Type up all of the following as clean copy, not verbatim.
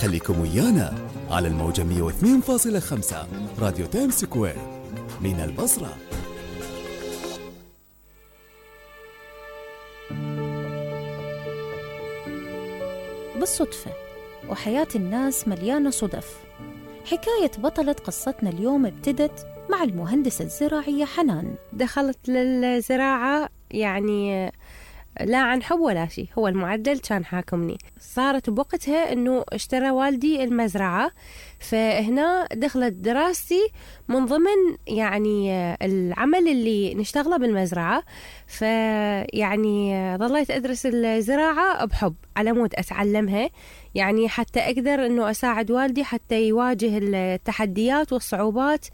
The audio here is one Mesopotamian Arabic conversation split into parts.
خليكم ويانا على الموجة 102.5 راديو تايم سكوير من البصرة. بالصدفة، وحياة الناس مليانة صدف. حكاية بطلة قصتنا اليوم ابتدت مع المهندسة الزراعية حنان. دخلت للزراعة يعني لا عن حب ولا شيء، هو المعدل كان حاكمني. صارت بوقتها انه اشترى والدي المزرعة، فهنا دخلت دراستي من ضمن يعني العمل اللي نشتغله بالمزرعة. فيعني ظليت ادرس الزراعة بحب على مود اتعلمها، يعني حتى اقدر انه اساعد والدي حتى يواجه التحديات والصعوبات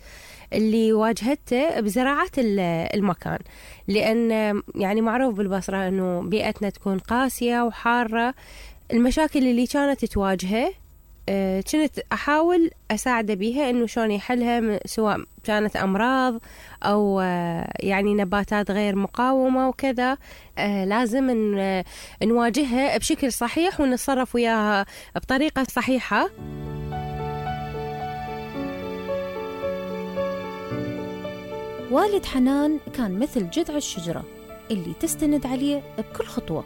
اللي واجهته بزراعة المكان، لأن يعني معروف بالبصرة أنه بيئتنا تكون قاسية وحارة. المشاكل اللي كانت تواجهه كنت أحاول أساعده بيها أنه شلون يحلها، سواء كانت أمراض أو يعني نباتات غير مقاومة وكذا. لازم نواجهها بشكل صحيح ونتصرف وياها بطريقة صحيحة. والد حنان كان مثل جذع الشجرة اللي تستند عليه بكل خطوة،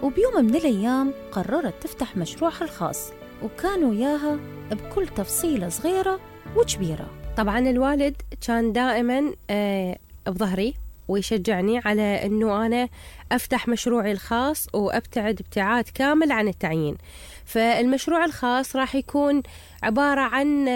وبيوم من الأيام قررت تفتح مشروعها الخاص، وكان وياها بكل تفصيلة صغيرة وكبيرة. طبعا الوالد كان دائما بظهري ويشجعني على أنه أنا أفتح مشروعي الخاص وأبتعد ابتعاد كامل عن التعيين. فالمشروع الخاص راح يكون عبارة عن